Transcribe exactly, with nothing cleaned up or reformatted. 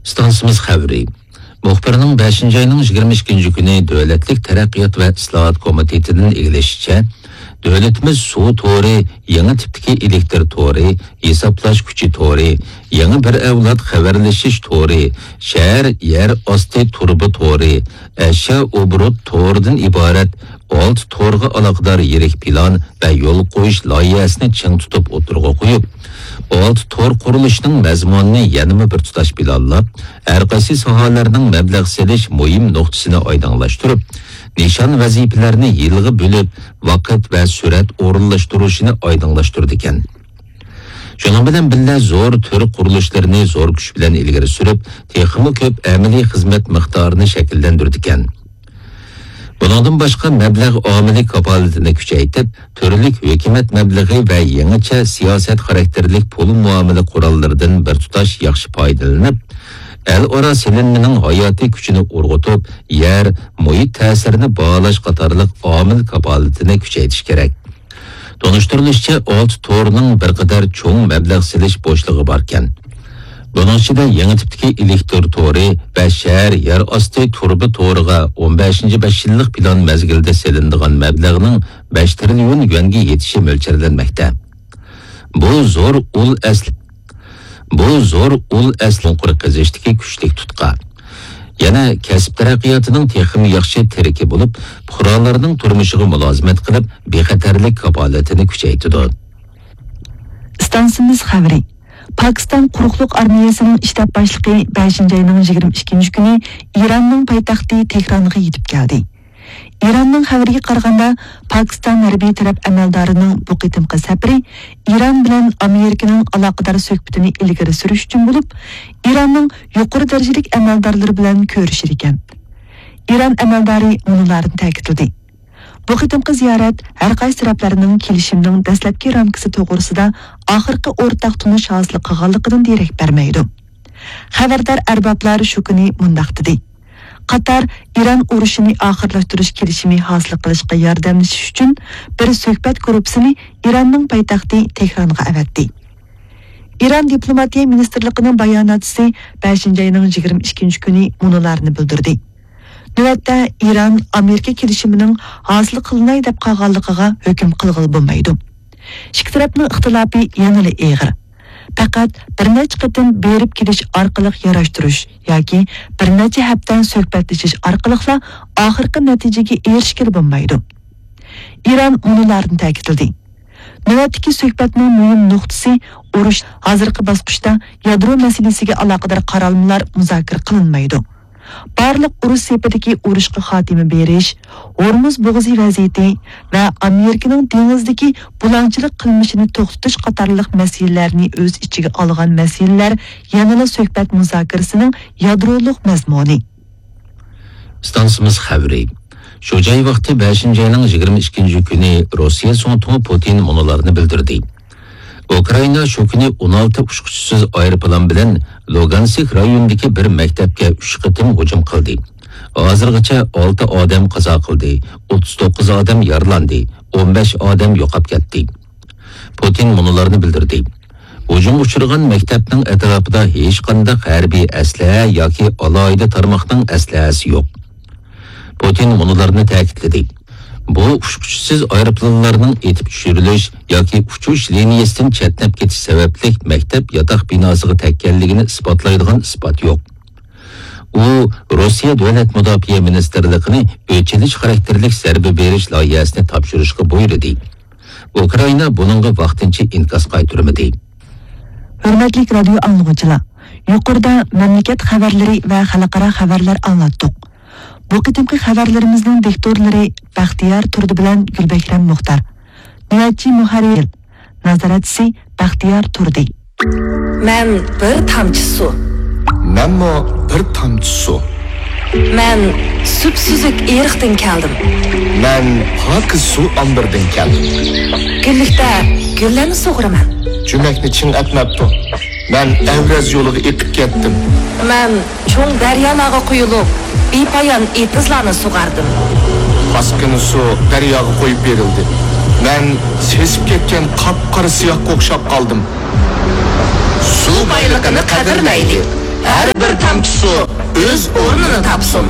ئىستانسىمىز خەۋىرى. مۇخبىرنىڭ بەشىنچى ئاينىڭ يىگىرمە ئىككىنچى كۈنى دۆلەتلىك تەرەققىيات ۋە ئىسلاھات كومىتېتىدىن ئىگىلىشىچە، دۆلىتىمىز سۇ تورى، يېڭى تىپتىكى ئېلېكتر تورى، ھېسابلاش كۈچى تورى، يېڭى بىر ئەۋلاد خەۋەرلىشىش تورى، شەھەر يەر ئاستى تۇرۇبا تورى، ئەشيا ئوبوروت تورىدىن ئىبارەت ئالتە تورغا ئالاقىدار يىرىك پىلان ۋە يول قويۇش لايىھەسىنى چىڭ تۇتۇپ ئوتتۇرىغا قويۇپ، ئالتە تور قۇرۇلۇشىنىڭ مەزمۇنىنى يەنىمۇ بىر تۇتاش پىلانلاپ، ھەر قايسى ساھەلەرنىڭ مەبلەغ سېلىش مۇھىم نۇقتىسىنى ئايدىڭلاشتۇرۇپ، نىشان ۋەزىپىلەرنى يىلغا بۆلۈپ، ۋاقىت ۋە سۈرئەت ئورۇنلاشتۇرۇشىنى ئايدىڭلاشتۇرىدىكەن. شۇنىڭ بىلەن بىللە، زور تۈر قۇرۇلۇشلىرىنى زور كۈچ بىلەن ئىلگىرى سۈرۈپ، تېخىمۇ كۆپ ئەمەلىي خىزمەت مىقدارىنى شەكىللەندۈرىدىكەن. بۇنىڭدىن باشقا، مەبلەغ ئامىلى كاپالىتىنى كۈچەيتىپ، تۈرلۈك ھۆكۈمەت مەبلىغى ۋە يېڭىچە سىياسەت خاراكتېرلىك پۇل مۇئامىلە قوراللىرىدىن بىر تۇتاش ياخشى پايدىلىنىپ، ئەل ئارا سېلىنمىنىڭ ھاياتىي كۈچىنى ئۇرغۇتۇپ، يەر، مۇھىت تەسىرىنى باھالاش قاتارلىق ئامىل كاپالىتىنى كۈچەيتىش كېرەك. تونۇشتۇرۇلۇشىچە، ئالتە تورنىڭ بىر قەدەر چوڭ مەبلەغ سېلىش بوشلۇقى باركەن. بۇنىڭ ئىچىدە يېڭى تىپتىكى ئېلېكتر تورى ۋە شەھەر يەر ئاستى تۇرۇبا تورىغا ئون بەشىنچى بەش يىللىق پىلان مەزگىلىدە سېلىنىدىغان مەبلەغنىڭ بەش تىرىليون يۈەنگە يېتىشى مۆلچەرلەنمەكتە. بۇ زور ئۇل ئەسلى بۇ زور ئۇل ئەسلى چوڭقۇر قېزىشتىكى كۈچلۈك تۇتقا. يەنە كەسىپ تەرەققىياتىنىڭ تېخىمۇ ياخشى تىرىكى بولۇپ، پۇقرالارنىڭ تۇرمۇشىغا مۇلازىمەت قىلىپ، بىخەتەرلىك كاپالىتىنى كۈچەيتىدۇ. ئىستانسىمىز خەۋىرى. پاكىستان قۇرۇقلۇق ئارمىيەسىنىڭ شتاب باشلىقى بەشىنچى ئاينىڭ يىگىرمە ئىككىنچى كۈنى ئىراننىڭ پايتەختى تېھرانغا يېتىپ كەلدى. ئىراننىڭ خەۋىرىگە قارىغاندا، پاكىستان ھەربىي تەرەپ ئەمەلدارىنىڭ بۇ قېتىمقى سەپىرى ئىران بىلەن ئامېرىكىنىڭ ئالاقىدار سۆھبىتىنى ئىلگىرى سۈرۈش ئۈچۈن بولۇپ، ئىراننىڭ يۇقىرى دەرىجىلىك ئەمەلدارلىرى بىلەن كۆرۈشىدىكەن. ئىران ئەمەلدارى مۇنۇلارنى تەكىتلىدى: بۇ قېتىمقى زىيارەت ھەر قايسى تەرەپلەرنىڭ كېلىشىمنىڭ دەسلەپكى رامكىسى توغرىسىدا ئاخىرقى ئورتاق تونۇش ھاسىل قىلغانلىقىدىن دېرەك بەرمەيدۇ. خەۋەردار ئەربابلار شۇ كۈنى مۇنداق دېدى: قاتار ئىران ئۇرۇشىنى ئاخىرلاشتۇرۇش كېلىشىمى ھاسىل قىلىشقا ياردەملىشىش ئۈچۈن بىر سۆھبەت گۇرۇپپىسىنى ئىراننىڭ پايتەختى تېھرانغا ئەۋەتتى. ئىران دىپلوماتىيە مىنىستىرلىقىنىڭ باياناتچىسى بەشىنچى ئاينىڭ يىگىرمە ئىككىنچى كۈنى مۇنۇلارنى بىلدۈردى: نۆۋەتتە ئىران ئامېرىكا كېلىشىمىنىڭ ھاسىل قىلىناي دەپ قالغانلىقىغا ھۆكۈم قىلغىلى بولمايدۇ. ئىككى تەرەپنىڭ ئىختىلاپى يەنىلا ئېغىر. پەقەت بىر نەچچە قېتىم بېرىپ كېلىش ئارقىلىق ياراشتۇرۇش ياكى بىر نەچچە ھەپتە سۆھبەتلىشىش ئارقىلىقلا ئاخىرقى نەتىجىگە ئېرىشكىلى بولمايدۇ. ئىران مۇنۇلارنى تەكىتلىدى: نۆۋەتتىكى سۆھبەتنىڭ مۇھىم نۇقتىسى ئۇرۇش، ھازىرقى باسقۇچتا يادرو مەسىلىسىگە ئالاقىدار قارالمىلار مۇزاكىرە قىلىنمايدۇ. بارلىق ئۇرۇش سېپىدىكى ئۇرۇشقا خاتىمە بېرىش، ھورمۇز بوغۇزى ۋەزىيىتى ۋە ئامېرىكىنىڭ دېڭىزدىكى بۇلاڭچىلىق قىلمىشىنى توختىتىش قاتارلىق مەسىلىلەرنى ئۆز ئىچىگە ئالغان مەسىلىلەر يەنىلا سۆھبەت مۇزاكىرىسىنىڭ يادرولۇق مەزمۇنى. ئىستانسىمىز خەۋىرى. شۇ جاي ۋاقتى بەشىنچى ئاينىڭ يىگىرمە ئىككىنچى كۈنى روسىيە زۇڭتۇڭى پۇتىن مۇنۇلارنى بىلدۈردى: ئۇكرائىنا شۇ كۈنى ئون ئالتە ئۇچقۇچىسىز ئايروپىلان بىلەن لۇگانسك رايونىدىكى بىر مەكتەپكە ئۈچ قېتىم ھۇجۇم قىلدى. ھازىرغىچە ئالتە ئادەم قازا قىلدى، ئوتتۇز توققۇز ئادەم يارىلاندى، ئون بەش ئادەم يوقاپ كەتتى. پۇتىن مۇنۇلارنى بىلدۈردى: ھۇجۇمغا ئۇچرىغان مەكتەپنىڭ ئەتراپىدا ھېچقانداق ھەربىي ئەسلىھە ياكى ئالاھىدە تارماقنىڭ ئەسلىھەسى يوق. پۇتىن مۇنۇلارنى تەكىتلىدى: بۇ ئۇچقۇچىسىز ئايروپىلانلارنىڭ ئېتىپ چۈشۈرۈلۈش ياكى ئۇچۇش لىنىيەسىدىن چەتنەپ كېتىش سەۋەبلىك مەكتەپ ياتاق بىناسىغا تەگكەنلىكىنى ئىسپاتلايدىغان ئىسپات يوق. ئۇ روسىيە دۆلەت مۇداپىئە مىنىستىرلىقىنى ئۆچ ئېلىش خاراكتېرلىك زەربە بېرىش لايىھەسىنى تاپشۇرۇشقا بۇيرۇدى. ئۇكرائىنا بۇنىڭغا ۋاقتىنچە ئىنكاس قايتۇرمىدى. ھۆرمەتلىك رادىيو ئاڭلىغۇچىلار، يۇقىرىدا مەملىكەت خەۋەرلىرى ۋە خەلقئارا خەۋەرلەر ئاڭلاتتۇق. بۇ قېتىمقى خەۋەرلىرىمىزنىڭ دىكتورلىرى بەختىيار تۇردى بىلەن گۈلبەھرەم مۇختار. نۆۋەتچى مۇھەررىر، نازارەتچىسى بەختىيار تۇردى. مەن بىر تامچە سۇ. مەنمۇ بىر تامچە سۇ. مەن سۈپسۈزۈك ئېرىقتىن كەلدىم. مەن پاكىز سۇ ئامبىرىدىن كەلدىم. گۈللۈكتە گۈللەرنى سۇغۇرىمەن. جۈمەكنى چىڭ ئەتمەپتۇ. مەن ئەۋرەز يولىغا ئېقىپ كەتتىم. مەن چوڭ دەريالارغا قۇيۇلۇپ، بىپايان ئېتىزلارنى سۇغاردىم. پاسكىنا سۇ دەرياغا قويۇپ بېرىلدى. مەن سېسىپ كەتكەن قاپقارا سىياھقا ئوخشاپ قالدىم. سۇ بايلىقىنى قەدىرلەيلى. ھە، بىر تامچە سۇ ئۆز ئورنىنى تاپسۇن.